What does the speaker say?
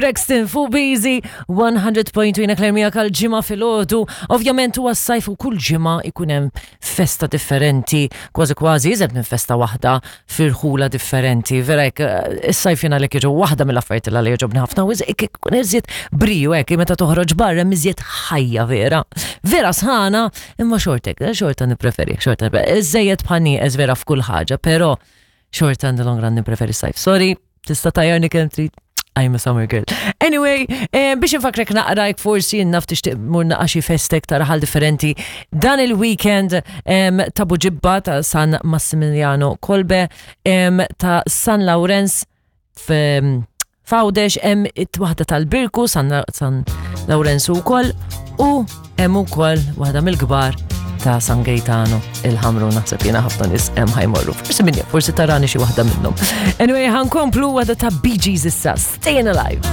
Brexton fuq Busy 100.2 Claire miegħek għal ġimgħa filgħodu. Ovvjament huwa s-sajf u kull ġimgħa ikun hemm festa differenti, kważi kważi iżed minn festa waħda firħula differenti. Vera hekk eh, is-sajf jiena lek jiġu waħda mill-affarijiet li jogħġobni ħafna u ikun iżjed briju hekk meta toħroġ barra hemm iżjed ħajja vera. Vera sħana imma xortek, eh, xorta nippreferi, xorta nippreferi. Iżejjed bħal nieqes vera f'kull ħaġa, però xorta in the long run nippreferi s-sajf. Sorry, Tista' tajjarni kemm trid. I'm a summer girl. Anyway, eh, biex infakrek naqra jek forsi naf tixtieq mur naqa' xi festek ta' raħal differenti. Dan il-weekend ta' Buġibba ta' San Massimiliano Kolbe ta' San Lawrenz f'Għawdex hemm it-waħda tal-Birku San, San Lawrenzu wkoll u hemm ukoll waħda mill-kbar ta' San Gaetano il-ħamru naħseb jiena ħafna nies hemm ħajmorru. Forsi minni, forsi tarani xi waħda minnhom. Anyway, ħankomplu waħda ta' Bee Gees issa, Staying Alive.